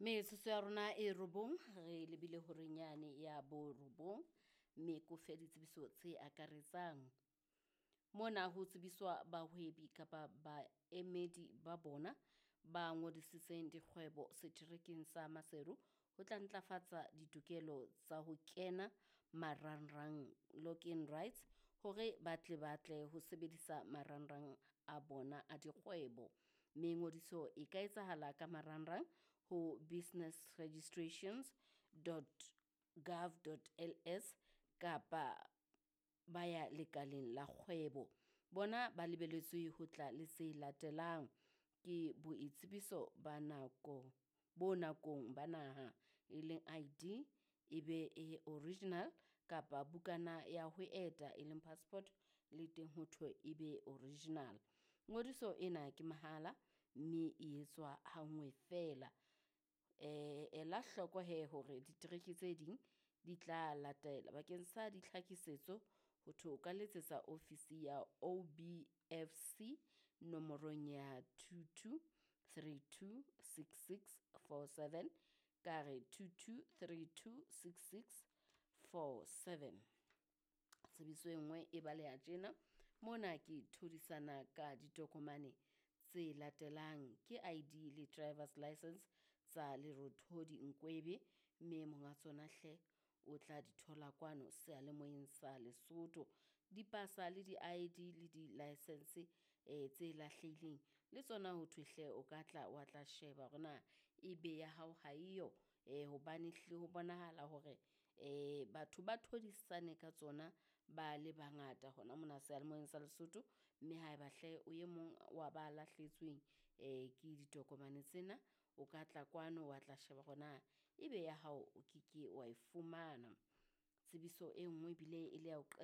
Metsotso ya rona e 9 re lebile horeng yane ya bo 9, mme ko fe ditsebiso tse akaretsang. Mona ho tsebiswa bahwebi kapa baemedi ba bona ba ngodisitseng dikgwebo seterekeng sa Maseru ho tla ntlafatsa ditokelo tsa ho kena marangrang, login rights, hore ba tle ba tle ho sebedisa marangrang a bona a dikgwebo. Mme ngodiso e ka etsahala ka marangrang ho businessregistrations.gov.ls kapa ba ya lekaleng la kgwebo. Bona ba lebeletswe ho tla le tse latelang ke boitsebiso ba nako bo nakong ba naha e leng ID, e be e original kapa bukana ya ho eta e leng passport, le teng ho thwe e be original. Ngodiso ena ke mahala mme e etswa ha nngwe feela. Ela hloko he hore ditereke tse ding di tla latela. Bakeng sa ditlhakisetso ho thwe o ka letsetsa ofisi ya OBFC nomorong ya 22 32 66 47, ka re 22 32 66 47. Tsebiso e nngwe e baleha tjena, mona ke thodisana ka ditokomane tse latelang ke ID le driver's license tsa Lerothodi Nkwebe, mme monga tsona hle o tla di thola kwano seyalemoyeng sa Lesotho. Dipasa le di-ID le di-license tse lahlehileng le tsona ho thwe hle o ka tla wa tla sheba hore na ebe ya hao ha eyo, hobane hlile ho bonahala hore batho ba thodisane ka tsona ba le bangata hona mona seyalemoyeng sa Lesotho. Mme haeba hle o e mong wa ba lahlehetsweng ke ditokomane tsena, o ka tla kwano wa tla sheba hore na ebe ya hao o ke ke wa e fumana. Tsebiso e nngwe ebile e le ya ho.